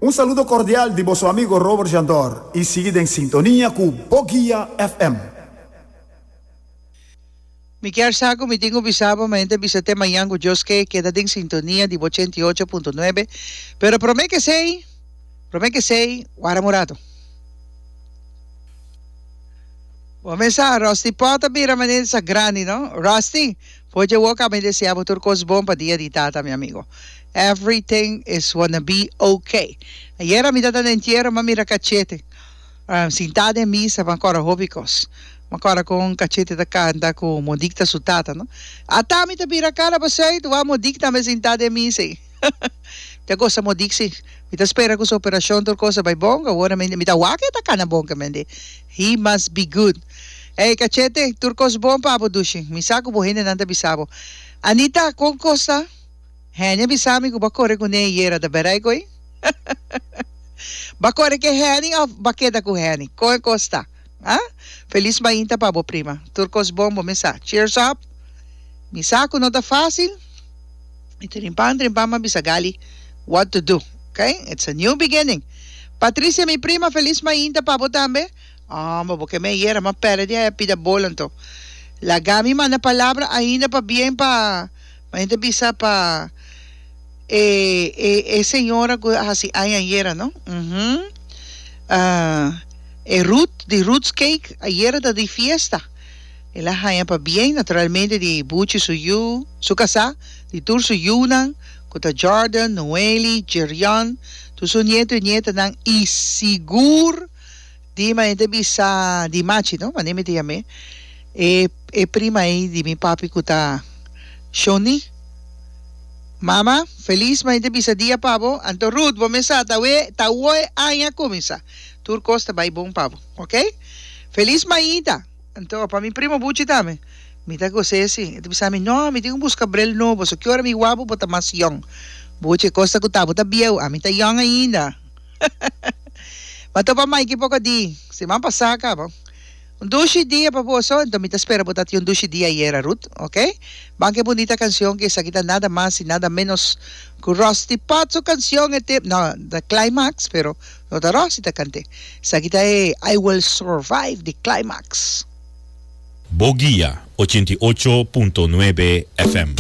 Un saludo cordial di boso amigo Robert Jandor y sigui den sintonia cu Boguia FM. Mi kier sa cu mi tin cu bisa bo, ma hende bisa te mañan cu Dios ke, keda den sintonia di bo 88.9. Pero prome ke esey, prome ke esey, wara un rato. Bo mes sa, Rusty Pot a bira manera sa grandi, no? Rusty, for dje wok ami desea bo tur cos bon pa dia di tata, mi amigo. Everything is wanna be okay. Ayera mi tata na entiero, m'a mira cachete. Sintá den misa, m'a cora hopi cos. M'a cora con cachete ta canta cu Monique ta su tata, no? Ata mi ta bira cara pa zuid, wak Monique tambe sintá den misa ei. Mi ta gosa Monique si. Mi ta spera cu su operacion tur cos a bay bon, awor mi mi ta wak e ta cana bon ke mende. He must be good. Ey Cachete, tur cos bon pa bo dushi. Mi sa cu bo hendenan ta bisa bo. Anita, con cos ta? Henny a bisa mi cu bo a core cu ne ayera, ta berai cu ey? Bo a core ke Henny of bo a keda cu Henny? Con e cos ta? Ah? Feliz mainta pa bo prima. Tur cos bon bo mesa. Cheers up! Mi sa cu no ta facil. Mi trimpan trimpan m'a bisa Gali what to do. Ok? It's a new beginning. Patricia mi prima feliz mainta pa bo tambe. Homber bo ke me ayera m'a perde di haya pida bol anto. Laga mi manda palabra ainda pa bien pa ma hende bisa pa e e e señora cu a haci aña ayera no. Uhum. E Ruth di Ruth's Cake ayera ta di fiesta. El a haña pabien naturalmente di Buchi su yu, su kasá, di tur su yunan, ku ta Jordan, Noeli, Jerion, tur su nieto i nietanan i sigur di manera ta bisa di Machi no, manera mi ta yam'é, e e prima ei di mi papi ku ta Shoni. Mama, felis manera ta bisa dia pa bo, anto Ruth bo mes sa ta awe ta awo e aña a kuminsá, tur kos ta bai bon pa bo, oke? Felis mainta. Anto, pa mi primo Buchi tambe. Mi ta gos'é si. E ta bisa mi, No, mi tin ku buska bril nobo, so ki ora mi wak bo, bo ta mas yòn. Buchi, e kos ta ku ta bo ta bieu, ami ta yòn ainda. Ma topa Maiki poko di siman pasá kaba. Un dushi dia pa boso, anto mi ta spera bo ta tin un dushi dia ayera, Ruth, oke? Ban ku e bunita kanshon ku esaki ta nada mas i nada ménos ku Rusty Pot su kanshon e tep, no, ta Climax, pero No ta Rosy ta kant'é. Esaki ta e I Will Survive di Climax. Bo Guia 88.9 FM.